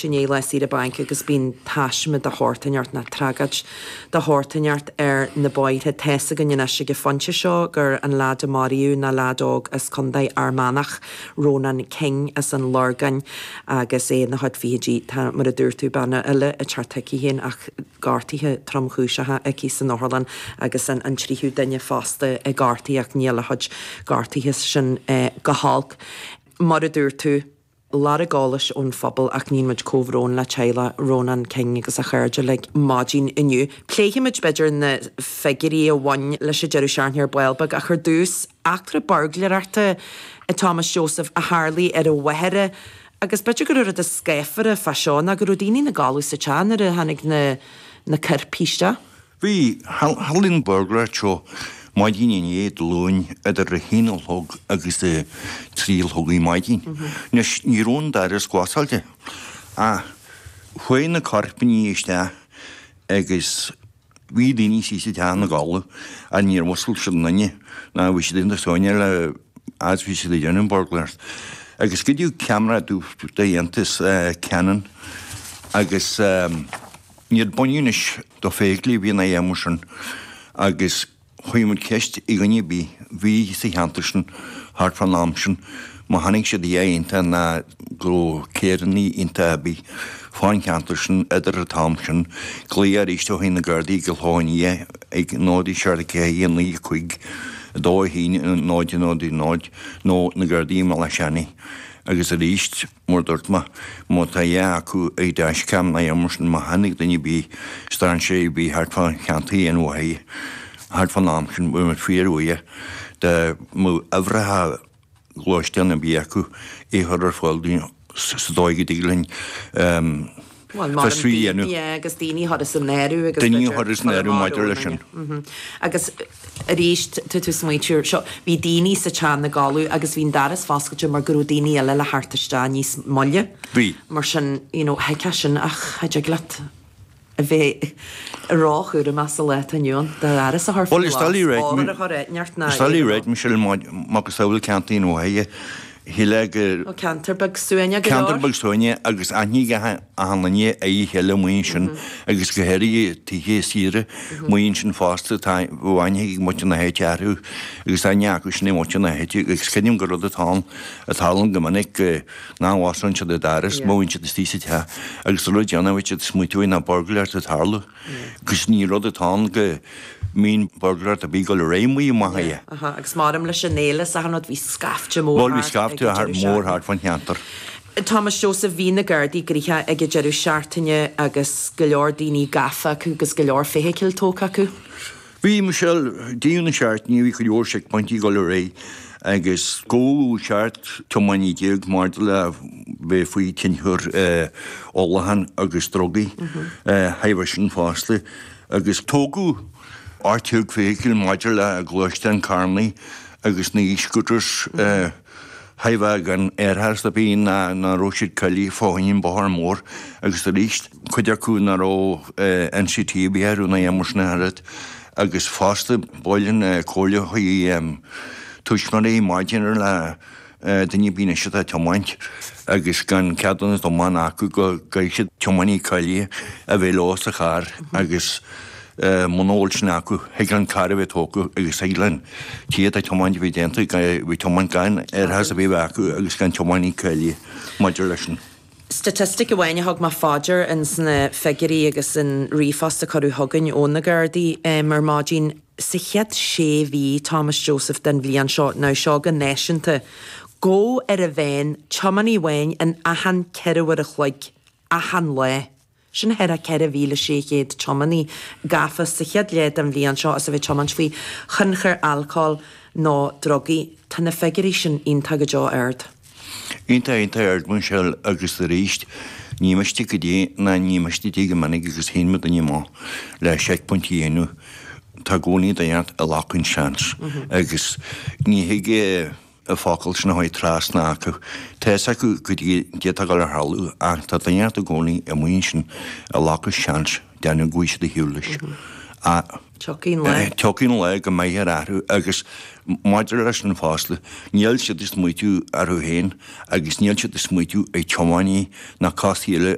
Máirt i ndiaidh lá saoire bainc agus bíonn taisme de shórt inteacht nó tragóid de shórt inteacht ar na bóithre. Tá's againn anois ag an phointe seo gur an leaid a maraíodh ná leaid óg as Contae Fhear Manach, Rónán King as an Lorgain agus é ina chuid fichidí. Tá, mar a dúirt tú, bean eile ag teacht chuici féin ach gortuithe tromchúiseacha aici san otharlann agus an tríú duine fosta gortaithe ach níl a chuid gortuithe sin go holc. Mar a dúirt tú, lorg eolais ón phobal ach níonn muid comhbhrón le teaghlach Rónán King agus a chairde uilig maidin inniu. Pléifimid b'fhéidir na figiúirí a bhain leis an deireadh seachtaine ar ball beag ach ar dtús, eachtra buirgléireachta a Thomas Joseph a tharlaigh ar an Mhachaire agus b'fhéidir go raibh rud is scáfara fá seo ná go raibh daoine ina gcodladh sa teach nuair a tháinig na na coirpigh isteach. Bhí. Tharlaigh an bhurglaire seo maidin inné, Dé Luain, idir a haon a chlog agus a trí a chlog ar maidin. Anois, ní raibh an doras glasáilte ach chuaigh na coirpigh isteach agus bhí daoine istigh sa teach ina gcodladh ach níor mhuscail siad aon duine ná bhí siad iontach sáite le fhad is bhí siad ag déanamh an bhurglaire. Agus goideadh ceamara dubh d'iontas Canon agus. Níor baineadh anois do feithiclí a bhí ina fheidhm sin agus chuir muid ceist ar dhuine ar bith a bhí sa cheantar sin thart fán am sin má chonaic siad a dhath iontach ná go raibh carrannaí iontach ar bith fán cheantar sin idir an t-am sin. Glaoch arís ó thaobh na Gardaí i gCill Chluain Fhia ag 0 7 4 9 5 2 1 0 0 0 nó na Gardaí i mBealach Seanaidh agus arís Mar a dúirt mé, má tá a dhath acu ag dashcam nó mar sin, má chonaic duine ar bith strainséir ar bith thart fá cheantar an Mhachaire thart fán am sin, bheadh muid fíorbhuíoch dá mbeadh uimhreacha gluaisteán ar bith acu é a chur ar fáil dúinn sa dóigh go dtig linn Bhuel, mar fiosrú a dhéanamh. Yeah, agus daoine a chur as an áireamh agus Daoine a chur as an áireamh maidir leis sin. Agus arís, tá tú ag smaointiú air seo, bhí daoine sa teach ina gcodladh agus bhí an doras foscailte mar go raibh daoine eile le theacht isteach níos moille. Bhí. Mar sin, you know, thuigfeá sin ach cha dtig leat a bheith róchúramach sa lá atá inniu ann, do dhoras a chur faoi Bhuel, is doiligh ghlas, ábhar a chur ar neart ná Is doiligh ráit, Michelle, macasamhail ceantar an Mhachaire, shílfeá gur. Ó ceantar beag suaimhneach go leor. Ceantar beag suaimhneach agus aithne ag achan duine ar a chéile amuigh ansin agus go háirithe tithe saoire amuigh ansin fosta tá aithne ag muintir na háite orthu agus aithne acu sin ar mhuintir na háite agus creidim gur rud atá ann a tharlaíonn go minic go nach bhfosclaíonn siad an doras má bhíonn siad istigh sa teach agus an rud deireanach a bheidh siad ag smaoitiú air ná buirgléireacht ag tarlú. Agus ní rud atá ann go mbíonn buirgléireacht ar bith ag dul ar aghaidh amuigh i Machaire. Aha, agus maram leis an fhéile is achan rud, bhí scaifte mór Bhuel, bhí thart ag scaifte an deireadh mór seachtaine. thart fán cheantar. Thomas Joseph, bhí na Gardaí gnoitheach ag an deireadh seachtaine agus go leor daoine gafa acu agus go leor feithicil tógtha acu. Bhí, Michelle, deireadh na seachtaine bhí go leor seicphointí ag dul ar aghaidh agus gabhadh 17 tiománaí maidir le bheith faoi thionchar ólacháin agus drugaí thairbhe sin fosta agus tógadh 18 feithicil maidir le gluaisteáin carrannaí agus na e-scooters thairbhe gan árachas ar bith ná nach raibh siad cáilithe fá choinne an bóthar mór agus arís cuid acu nach raibh NCT ar bith orthu ná aon mar sin a oiread agus fosta buaileann comhairle chuig tuismitheoirí maidir le duine ar bith anois atá ag tiomáint agus gan ceadúnas tiomána acu go gcaithfidh siad tiománaí cáilithe a bheith leo sa charr agus muna bhfuil sin acu, thig an carr a bheith tógtha agus thig le an té atá ag tiomáint a bheith déanta, a bheith ag tiomáint gan árachas ar bith a bheith acu agus gan tiománaí cáilithe maidir leis sin. Staitistic amháin a thug mé fá dear ins na figiúirí agus an ríomhphost a cuireadh chugainn ó na Gardaí ar maidin, sa chéad sé mhí, Thomas Joseph, den bhliain seo, now seo go náisiúnta, gabhadh ar a mheán tiománaí amháin in achan 4 uair a chloig, achan lá. Sin thart ar 4,600 tiománaí gafa sa chéad leath den bhliain seo as a bheith ag tiomáint faoi thionchar alcóil nó drugaí. Tá na figiúirí sin iontach go deo ard. Iontach, iontach ard Michelle agus arís ní miste go dtí ná ní miste dtí go minic agus théann muid amach le seicphointí a dhéanamh tá i gcónaí duine ag glacadh an seans agus ní thig an focal sin a chuaigh trasna acu. Tá fhios acu goidé atá ag dul a tharlú ach tá duine i gcónaí amuigh ansin ag glacadh seans déanamh go bhfaighidh siad ar shiúl leis. Ach Tiocfaidh an lá. Tiocfaidh an lá go mbeidh ar athrú agus maidir leis an fosta, níl siad ag smaoitiú orthu féin agus níl siad ag smaoitiú ar tiománaí ná cás eile.